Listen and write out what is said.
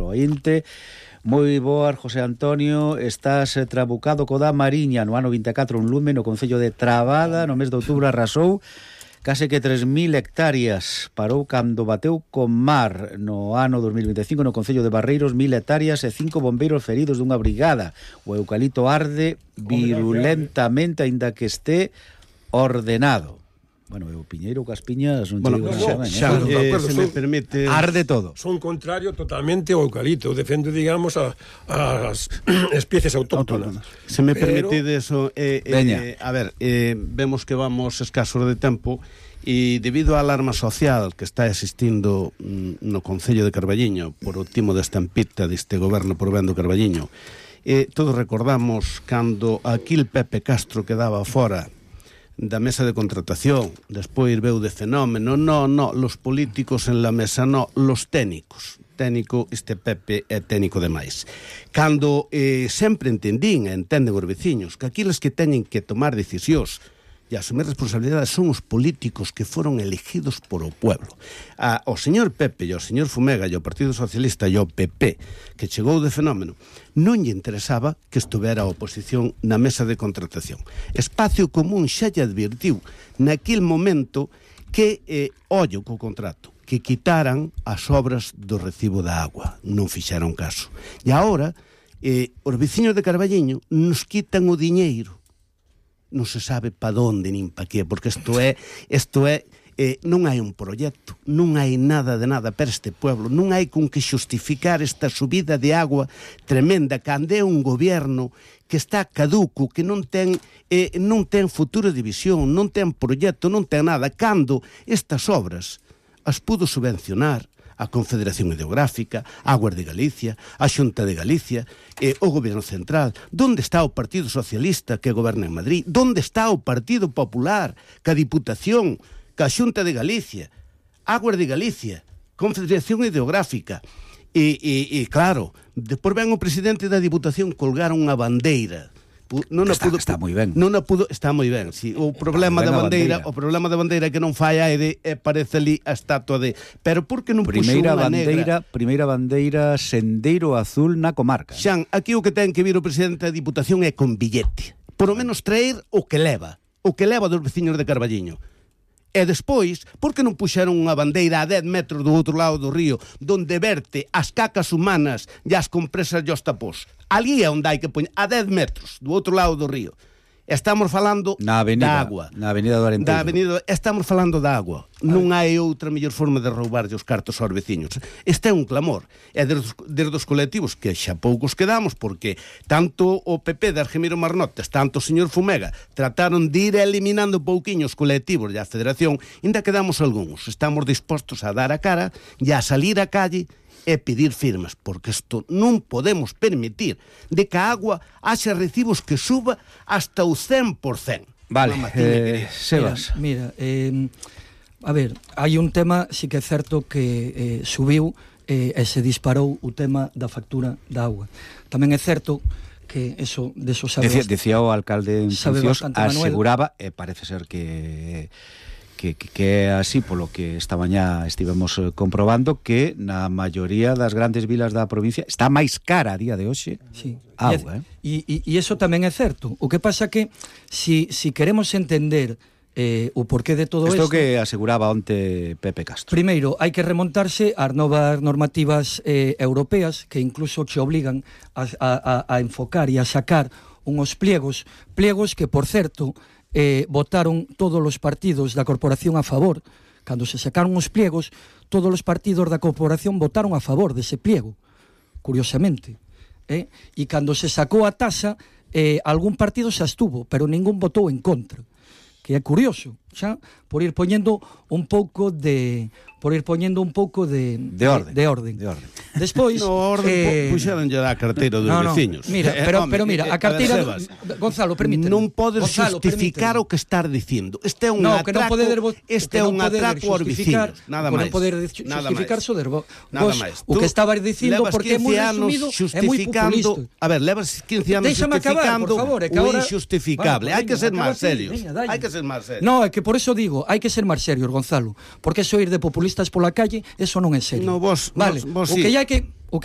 ointe. Moi boas, José Antonio. Estás trabucado co da Mariña. No ano 24 un lume no concello de Trabada. No mes de outubro arrasou case que 3.000 hectáreas. Parou cando bateu con mar. No ano 2025 no concello de Barreiros 1.000 hectáreas e 5 bombeiros feridos dunha brigada. O eucalipto arde virulentamente, aínda que este ordenado. Bueno, o Piñeiro coas piñas non digo se me permite, arde todo. Son contrario totalmente ao eucalipto, defendo, digamos, as especies autóctonas. Se me permite eso, a ver, vemos que vamos escasos de tempo e debido á alarma social que está existindo no concello de Carballiño por o timo da estampita deste goberno por ben do Carballiño, todos recordamos cando aquil Pepe Castro quedaba fora da mesa de contratación, despois veu de fenómeno, los políticos en la mesa, los técnicos. Técnico, este Pepe é técnico demais. Cando sempre entendín e entenden os veciños que aqueles que teñen que tomar decisións e asumir responsabilidades son os políticos que foron elegidos por o pueblo. O señor Pepe e o señor Fumega e o Partido Socialista e o PP que chegou de fenómeno non lle interesaba que estuvera a oposición na mesa de contratación. Espacio Común xa lle advirtiu naquil momento que, ollo co contrato, que quitaran as obras do recibo da agua. Non fixeron caso. E agora, os veciños de Carballiño nos quitan o diñeiro. Non se sabe pa donde nin pa que, porque isto é non hai un proxecto, non hai nada de nada para este pueblo, non hai con que xustificar esta subida de agua tremenda cando é un goberno que está caduco, que non ten futuro de visión, non ten proxecto, non ten nada, cando estas obras as pudo subvencionar a Confederación Hidrográfica, Aguas de Galicia, a Xunta de Galicia, o Goberno Central. Donde está o Partido Socialista que goberna en Madrid? Donde está o Partido Popular, ca Diputación, ca Xunta de Galicia, Aguas de Galicia, Confederación Hidrográfica? E claro, depois ven o presidente da Diputación colgar unha bandeira. Está moi ben. Está moi ben, sí. O problema da bandeira que non fai aire parece ali a estatua de, pero por que non puxo unha negra? Primeira bandeira sendeiro azul na comarca. Xan, aquí o que ten que vir o presidente da Diputación é con billete. Por lo menos traer o que leva dos veciños de Carballiño. E despois, por que non puxeron unha bandeira a 10 metros do outro lado do río, donde verte as cacas humanas e as compresas e os tapós? Ali é onde hai que poñer, a 10 metros do outro lado do río. Estamos falando da agua. Na avenida do Arenteiro. Estamos falando da agua. Non hai outra mellor forma de roubarlle os cartos aos veciños. Este é un clamor. É desde os colectivos que xa poucos quedamos, porque tanto o PP de Argemiro Marnotes, tanto o señor Fumega, trataron de ir eliminando pouquiños colectivos e a Federación, ainda quedamos algúns. Estamos dispostos a dar a cara e a salir á calle e pedir firmas, porque isto non podemos permitir de que a agua haxa recibos que suba hasta o 100%. Vale, Sebas. Mira, a ver, hai un tema, sí que é certo que subiu e se disparou o tema da factura da agua. Tamén é certo que eso, de eso sabe Decía o alcalde en funcións, aseguraba, e parece ser que é así, polo que esta mañá estivemos comprobando, que na maioría das grandes vilas da provincia está máis cara a día de hoxe agua. E iso tamén é certo. O que pasa que si queremos entender o porqué de todo isto... Isto que aseguraba onte Pepe Castro. Primeiro, hai que remontarse ás novas normativas europeas que incluso che obligan a enfocar e a sacar unhos pliegos que, por certo, votaron todos os partidos da corporación a favor. Cando se sacaron os pliegos, todos os partidos da corporación votaron a favor dese pliego, curiosamente. E cando se sacou a taxa, algún partido se abstuvo, pero ningún votou en contra, que é curioso, xa, por ir poñendo un pouco de orden. Despois, puxeronlle a carteira dos veciños. Mira, pero mira, a carteira Gonzalo, permíteme. Non podes justificar o que estás dicindo. Este é un atraco aos veciños, nada máis. Non poder justificar so derbo. Nada máis. O que estabas dicindo, porque é moi resumido, é moi populista. A ver, levas 15 anos justificando o injustificable. Hai que ser máis serios. No, é que por eso digo, hai que ser máis serios, Gonzalo, porque eso ir de populistas pola calle, eso non é serio. No, vos vale, vos o que hai que